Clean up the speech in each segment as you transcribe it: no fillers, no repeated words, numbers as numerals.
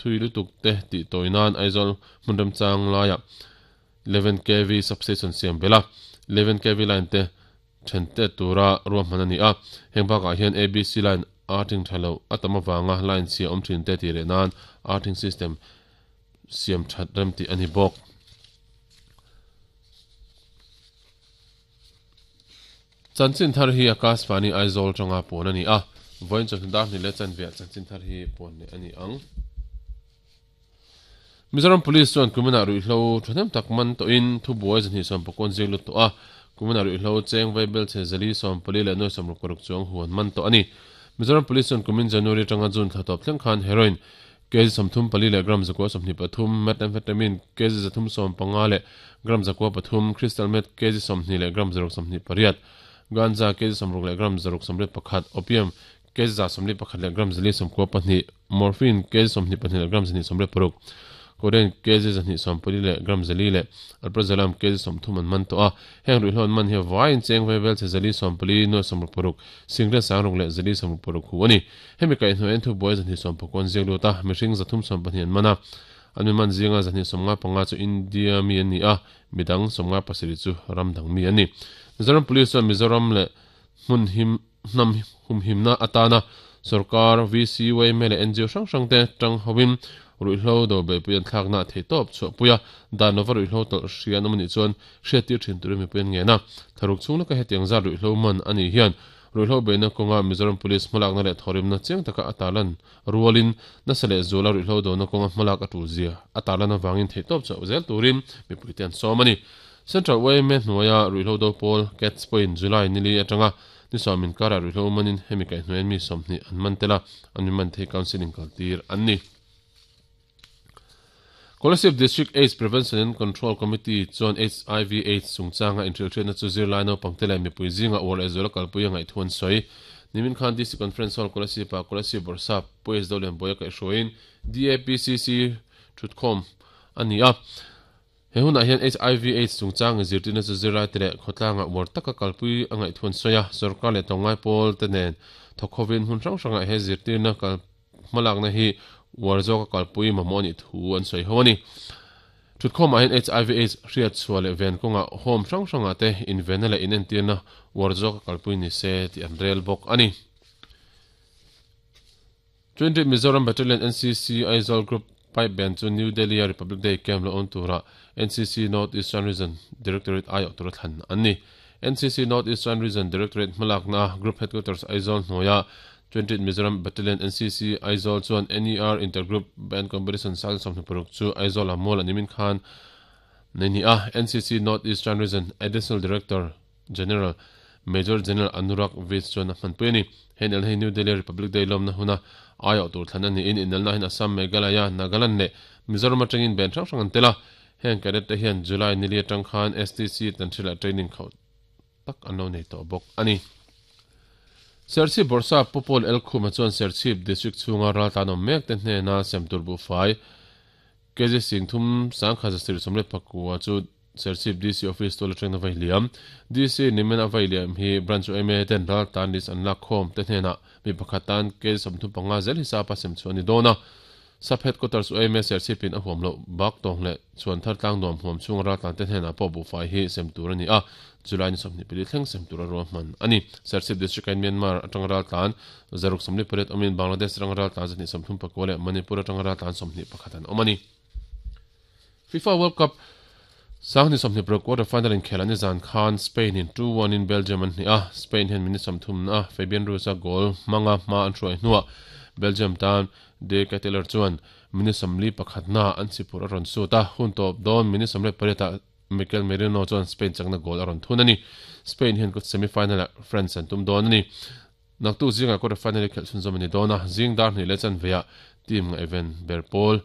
thui lutuk te tih tawi nan Aizawl hmun remchang laiah 11 kv substation siam belh a, 11 kv line te then tet tura ruahman a ni a. Heng bakah hian ABC line earthing tha lo a tam avanga line chhia awm thin te tih leh nan earthing system siam that rem tih a ni bawk. Chanchin thar hi Akashvani Aizawl tanga puan a ni a, vawiin chawhnu dar hnih leh chanveah chanchin thar hi puan leh a ni ang. Mizoram Police chuan kuminah ruihhlo thahnem tak man tawhin thubuai 270 ziak lut tawh a, kuminah ruihhlo cheng vaibelchhe 444 96 chuang huan man tawh a ni. Mizoram Police chuan kumin January atanga June thla tawp thleng khan heroin kg 34 leh gram 123, methamphetamine kg 315 leh gram 103, crystal meth kg 20 leh gram 628, ganja kg 60 leh gram 681, opium kg 141 leh gram 492, morphine kg 22 leh gram 286, codeine kg 244 leh gram 4 leh alprazolam kg 30 an man tawh a. Heng ruihhlo an man hi vaiin cheng vaivel chhe 440 nuai 66, singlet 60 leh 466 hu a ni. Hemi kaihhnawh en thubuai 219 ziak lut a, mihring 312 an man a. An mi man zinga 295 chu India mi an ni a, midang 57 chu ram dang mi an ni. Mizoram Police chuan Mizoram leh hmun him hnam humhimna atana sorkar, VC, yma leh ngo hrang hrang te tang hoin ruihhlo do beihpui an thlakna a theihtawp chhuahpui a, dan lova ruihhlo tawlh hria an awm anih chuan hriattir thin turin mipui an ngen a. Thlaruk chhung laka hetiang zat ruihhlo man a nih hian ruihhlo beihna kawnga Mizoram Police hmalakna leh thawhrimna chiang taka a tarlan rualin nasa leh zuala ruihhlo dona kawnga hmalak a tul zia a tarlan avangin theihtawp chauh zel turin mipuite an sawm a ni. Central yma hnuaia ruihhlo do pawl Cats pawhin July nili atanga ni sawm inkarah ruihhlo manin hemi kaihhnuaiin mi 20 an man tel a, an mi man thei counselling kaltir an ni. Kolasib District Aids Prevention and Control Committee chuan HIV Aids chungchanga inhrilhhriatna chu zirlai naupangte leh mipui zinga uar leh zuala kalpui a ngaih thu an sawi. Nimin khan DC Conference Hall Kolasib-ah Kolasib Bawrhsap Pu S. Dolianbuaia kaihhruaiin DAPCC thutkhawm a ni a. He hunah hian HIV Aids chungchang inzirtirna chu zirlaite leh khawtlanga uar taka kalpui a ngaih thu an sawi a, sorkar leh tlawmngai pawlte nen thawk hovin hmun hrang hrangah he zirtirna kal hmalakna hi uar zawka kalpui mamawh a nih thu an sawi ho a ni. Thutkhawmah hian HIV Aids hriat chhuah leh ven kawngah home hrang hrangah te invenna leh inentirna uar zawka kalpui ni se tih an rel bawk a ni. 20 Mizoram Battalion NCC Aizawl Group Pipe Band chu New Delhi-a Republic Day Camp lo awm tura NCC North Eastern Region Directorate aiawh tura thlan an ni. NCC North Eastern Region Directorate hmalakna Group Headquarters Aizawl hnuaia 20 Mizoram Battalion NCC Aizawl chuan NER Intergroup Band Competition sang 26 chu Aizawl-ah mual a nimin khan nei ni a. NCC North Eastern Region Additional Director General, Major General Anurag Vij chuan a hmanpui a ni. He inelna hi New Delhi Republic Day lawmna huna aiawh tur thlan a niin inelna hian Assam, Meghalaya, Nagaland leh Mizoram atangin band hrang hrang an tel a. Heng cadet te hian July nili atang khan STC Tanhril-ah training khauh tak an lo nei tawh bawk a ni. Serchhip Bawrhsap Pu Paul Elkhuma chuan Serchhip District chhunga raltlan awm mek te hnena semtur buhfai kg 31,124 chu Serchhip DC Office tual atangin a vai liam. DC nimin a vai liam hi Branch yma ten ral tan list an lak khawm te hnenah mi pakhat tan kg 35 zel hisap a sem chhuah a ni dawn a. Sub Headquarters yma Serchhip in a huam loh bak tawng leh chhuan thar tlang nuam huam chhunga ral tlan te hnenah pawh buhfai hi sem tur a ni a, July ni 24 thleng sem tur a ruahman a ni. Serchhip District in Myanmar atanga ral tlan 648 awmin Bangladesh atanga ral tlan 139 leh Manipur atanga ral tlan 21 an awm a ni. FIFA World Cup 2026 quarter final inkhelh an zan khan Spain in 2-1 in Belgium an hnih a, Spain hian minute 30 na Fabian Ruiz a goal hmanga hma an hruai hnuah Belgium tan De Ketelaere chuan minute 41 na an chipur a rawn sut a, hun tawp dawn minute 18 ah Mikel Merino chuan Spain chakna goal a rawn thun a ni. Spain hian semi-final ah France an tum dawn a ni. Naktuk zingah quarter final hi khelh chhunzawm a ni dawn a, zing dar hnih leh chanveiah team ngaihven ber pawl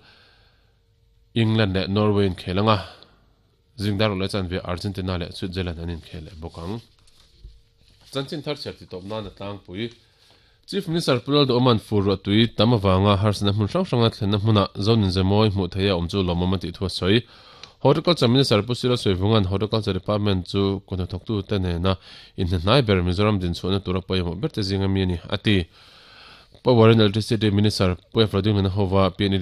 England leh Norway inkhel anga zing dar leh chanve Argentina leh Switzerland an inkhel leh bawk ang. Chanchin thar chhiar ti tawp nan a tlangpui. Chief Minister Pu Lalduhawma'n fur ruah tui tam avanga harsatna hmun hrang hranga thlenna hmuna Zonin Zemawi hmuh theih a awm chu lawmawm a tih thu a sawi. Horticulture Minister Pu Silo Sawivanga'n Horticulture Department chu kuthnathawktute nena inhnahnai ber Mizoram dinchhuahna tura pawimawh berte zinga mi a ni, a ti. Power and Electricity Minister Pu Efra Dinglana hova PNE.